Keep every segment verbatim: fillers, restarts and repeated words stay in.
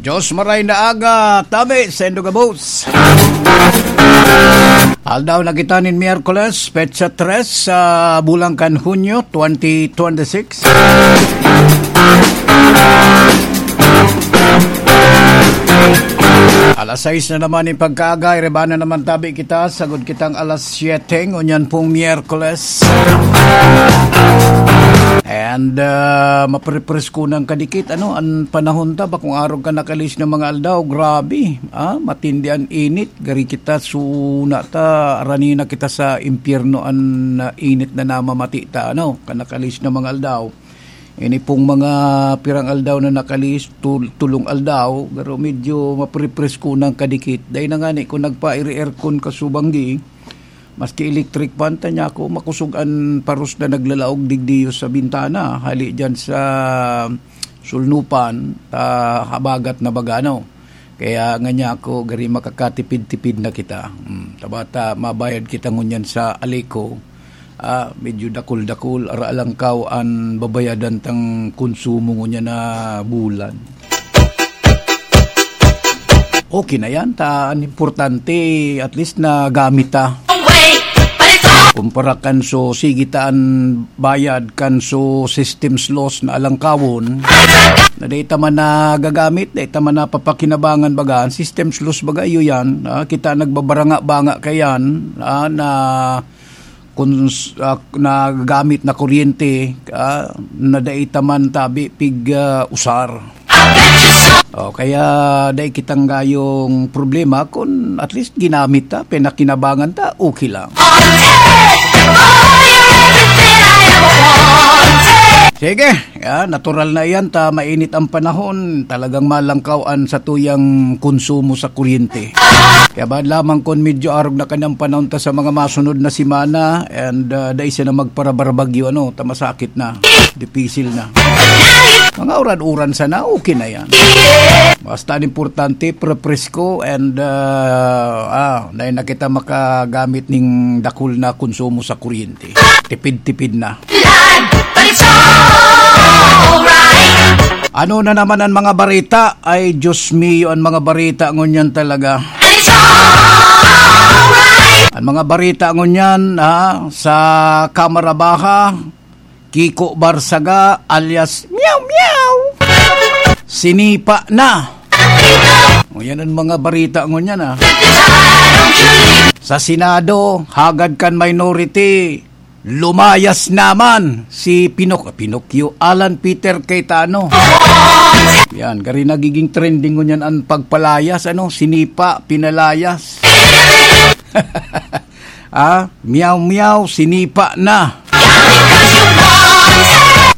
Diyos maray na aga, tabi, sendo gabos. Aldaw na kita nin Miyerkules, petsa tres sa bulan kan Hunyo, twenty twenty-six. Alas sais na naman nin pagkaaga, iriba na naman tabi kita, sagod kitang alas siyete, ngunyan pong Miyerkules. And, ah, maprepresko nang kadikit, ano, an panahon ta, bakong arog kan nakalis na mga aldaw, grabe, ah, matindi an init, gari kita suna ta, arani na kita sa impyerno an, ah, init na namamati ta, ano, kan nakalis na mga aldaw. Ini pong mga pirang aldaw na nakalis, tul-, tulong aldaw, pero medyo maprepresko nang kadikit. Dahil na nga ni, kung nagpa-aircon ka subanggi, maski electric fan, ta niya ako, makusog an paros na naglalaog digdiyo sa bintana, hali dyan sa sulnupan, ta habagat na baga, no? Kaya nga niya ako, gari makakatipid-tipid na kita. Hmm, tabata, mabayad kita ngunyan sa Aleco. Ah, medyo dakul-dakul, ara lang kaw an babayadan tang konsumo ngunyan na bulan. Okay na yan, ta, an importante, at least nagamit ta. Kumpara kan so, sige ta an bayad kan so system's loss na alangkawon, na dai ta man nagagamit, dai ta man napapakinabangan baga, an system's loss baga, iyo yan, ah, kita nagbabaranga-banga kayan, ah, na kun s-, ah, nagagamit na kuryente, ah, na dai ta man tabi pig, ah, usar. O, kaya dai kitang gayong problema kun at least ginamit ta, pinakinabangan ta, okay lang. Sige, ya, natural na iyan ta, mainit ang panahon, talagang malangkaw an satuyang konsumo sa kuryente. Kaya ba lamang kun medyo arog na kanang panahon ta sa mga masunod na semana, and, ah, dai siya na magparabarbagyo, ano, ta masakit na, dipisil na. Mga uran-uran sana, okay na yan. Basta an importante, prepresko and, ah, ah, dai na kita makagamit ning dakul na konsumo sa kuryente. Tipid-tipid na. Ano na naman ang mga barita? Ay, Diyos mio, ang mga barita ngunyan talaga. Ang mga barita ngunyan, ha, sa Kamara Baha, Kiko Barsaga alias Meow Meow, sinipa na. O, yan ang mga barita ngunyan, ah. Sa Senado, hagad kan minority, lumayas naman si Pinok-, Pinocchio, Alan Peter Cayetano. Yan, gari nagiging trending ngunyan ang pagpalayas, ano, sinipa, pinalayas. Ah, Meow Meow, sinipa na.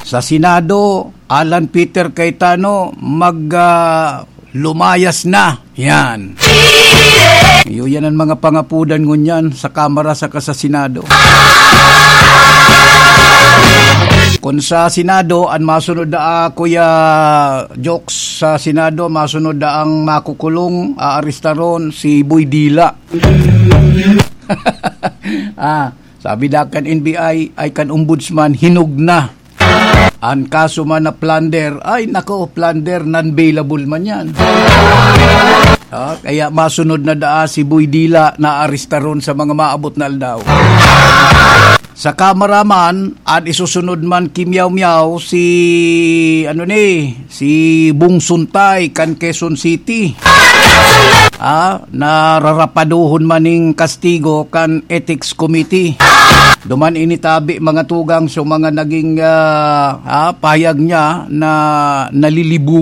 Sa Senado, Alan Peter Cayetano, mag, ah, lumayas na. Yan. Iyo, yan ang mga pangapudan ngunyan sa Kamara saka sa Senado. Kung sa Senado, ang masunod na, ah, Kuya Jokes, sa Senado, masunod na ang makukulong, aarestaron, si Boy Dila. Ah, sabi da kan N B I, ay kan Ombudsman, hinog na. An kaso man na plunder, ay nako, plunder, non-bailable man yan. Ah, kaya masunod na daa si Boy Dila na arestaron sa mga maabot na aldaw. Sa Kamara man, an isusunod man ki Meow Meow si, ano ni, si Bong Suntay kan Quezon City. Ah, nararapaduhon man ning kastigo kan Ethics Committee. Duman ini tabi mga tugang sa mga naging, ah, ah, pahayag niya na nalilibog